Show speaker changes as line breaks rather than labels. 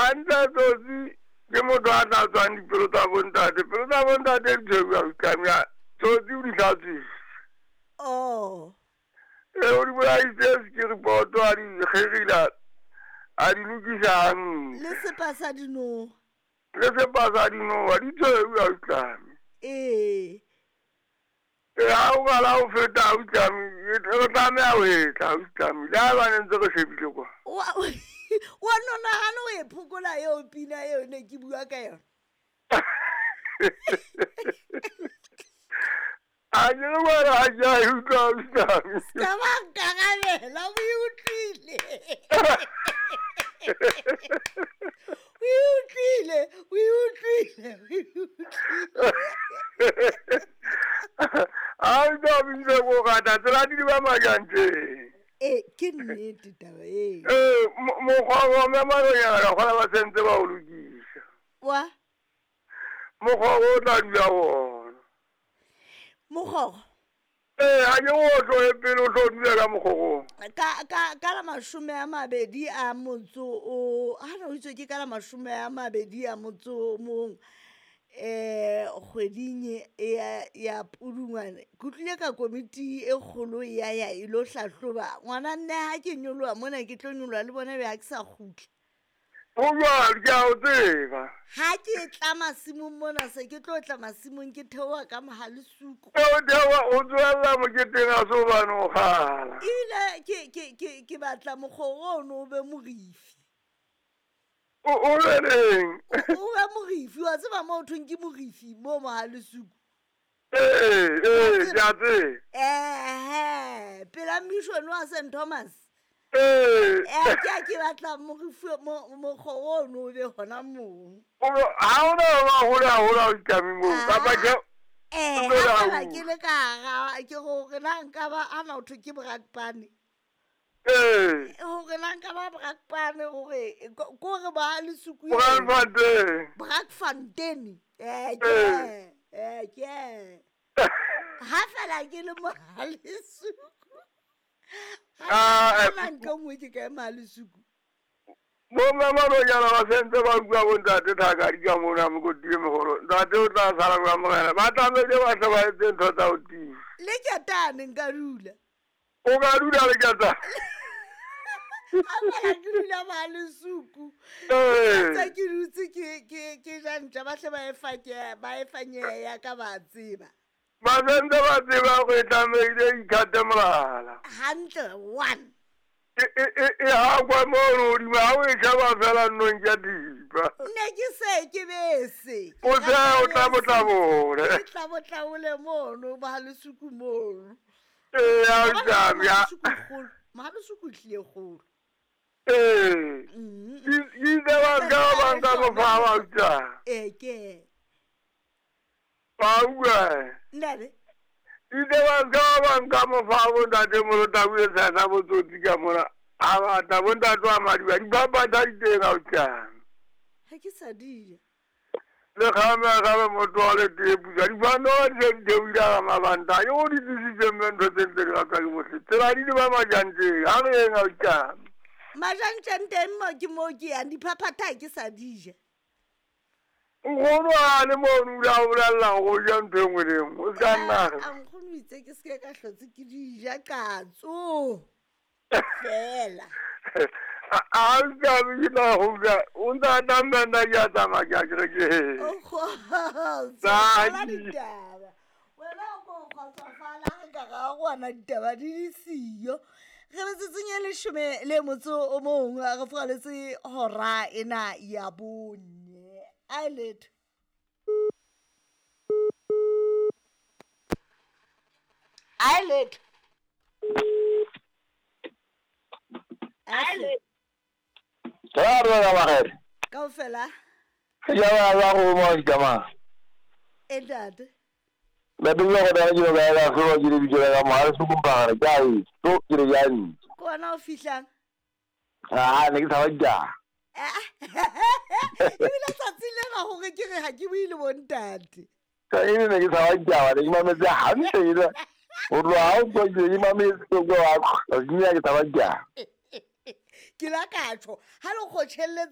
Hantle Tsotsi ke motho a tlatswang dipelo tsa bontate. Pelo tsa bontate di tshweu autlami. Tsotsi o di hlatswitse.
Oh.
E o di bolaisitse sekiripoto a di kgerila a di lokisa hantle.
Le sepa sa dinoha.
Le sepa sa dinoha di tshweu autlami.
Ee.
E ha o qala ho feta autlami re tlameha ho etla autlami le ha ba ne ntse re shebile kwa.
Wa no nahana o e phokola eo pina eo ne ke bua ka yona.
A ke re wena ha ke a e utlwa autlami.
Ska ba nkarabela o e utlwile. O e utlwile, o e utlwile, o e utlwile.
Autlami ke ko rata tsela di ba majanteng.
Ee, ke nnete taba eo.
Ee, mokgwa wa mme maronyana ka kgona ba sentse ba o lokisa.
Wa?
Mokgwa o tla dula gona.
Mokgogo?
Ee, ga ke o tloge pele o tlo dula ka mokgogong.
Ka la 20 a motso o, ha no itswe ke ka la 20 a motso o mong, kgweding ya Pudungwane. Ke utlwile ka komiti e kgolo ya ya e lo hlahloba. Ngwana nne ha ke nyoloha mona ke tlo nyoloha le bona be ha ke sa kgutla.
Ho jwalo, ke a o tseba.
Ha ke tla masimong mona se ke tlo tla masimong ke theoha ka Mohalesuku.
E o theoha o tswella moketeng a so bane o kgala.
Ebile ke batla mokgoro ono o be morifi.
O be neng?
O be morifi, wa tseba moo thweng ke morifi mo Mohalesuku.
Ee, ee, ke a tseba.
Ehe, pela mission wa St Thomas.
Ee.
Ee, ke a ke batla morifi mokgoro ono o be hona moo.
Ha ona ba hole haholo ha o itlame moo, kapa ke
Ee,
o tlo
ha
la
fela
utlwa.
ke le ka hara, ke hore na nka ba ana ho thwe ke Brakpan.
Ee.
Hore na nka ba Brakpan hore ko re ba Lesuku.
Brakfontein.
Brakfontein. Ee, ke
Ee.
ee, ke. Ha fela ke le Mohalesuku.
Ah,
Ha na ntho e nngwe ke ka e Mohalesuku.
Bo mme maronyana ba sentse ba utlwa bo ntate Thakadi ka mona mokoti e mogolo. Ntate o tla sala kwa morena. Ba tlamehile ba hle ba etse ntho tsa ho tiisa.
Le ketane nka dula.
O ka dula le ketane.
Ha fela ke dula Mohalesuku.
Ee.
Tsa ke dutse ke ja ntja ba hle ba e fa ke ba e fa nyeya ka ba tseba.
Ba sentse ba tseba hore e tlamehile e ikgate molala.
Hantle one.
E hakwa mono hodimo, ha o e sheba fela nnong ke thipa.
Ne ke se ke bese.
O se o tlabotlabole.
Ke tlabotlabole mono, Mohalesuku mono.
Ee, ha o tlabe, ya.
Mohalesuku kgolo. Mohalesuku tlile kgolo.
Ee. Ke itse ba ka ba nka mofa ba utlwa.
Ee, ke.
Ba utlwa.
Ntate.
Itse ba ka ba nka mofa bo ntate Molota o etsa sa botsotsi ka mona. A batla bo ntate wa Madiba, dipapatsa di teng ha o tlang.
Ha ke sa di ja.
Le kgame, kgame motho wa le tee pusa. Diphandoro di se di theohile ka mabanta. Yo di tlisitse mme ntho tse ntse di ratwa ke bohle. Tsela di le ba majanteng. Ha re yeng ha o tlang.
Majanteng teng mo ke mo ke yang, diphaphatha ha ke sa di ja.
Nkgono a le mono o ile a bolella hore o ja ntho e nngwe le e nngwe. O ska nna re.
A nkgono o itse ke seke ka hlotse ke di ja katso. Fela.
A o tlabe ke tla go utlwa, o ntse a tla nna ke a tsamaya ke a kerekeng.
O kgotso,
Tsa
fala
di.
ditaba. Wena o ko kgotsofala re ka ga gona ditaba di di siyo. Re metsotsong e 11 re furaletse hora ena ya 4. A letho. A letho. A letho.
Ra re ba bagere.
Kaofela.
Ya ba ba go mo ditama.
E ntate.
Ba dula go dala ke ba ba go ke le bitso la mo se kumpara ke a e to ke re ya ntse.
Ko wena o fihlang?
Ah, ne ke sa ba ja.
Ebile tsatsi lena hore ke re ha ke bue le bontate.
Ka ene ne ke sa ba ja, ne ke mametse hantle ile. O tloha ha o tswa ke ke mametse go go wa, ke ne ke sa ba ja.
Ke la ka tjho, ha le kgotjhelletse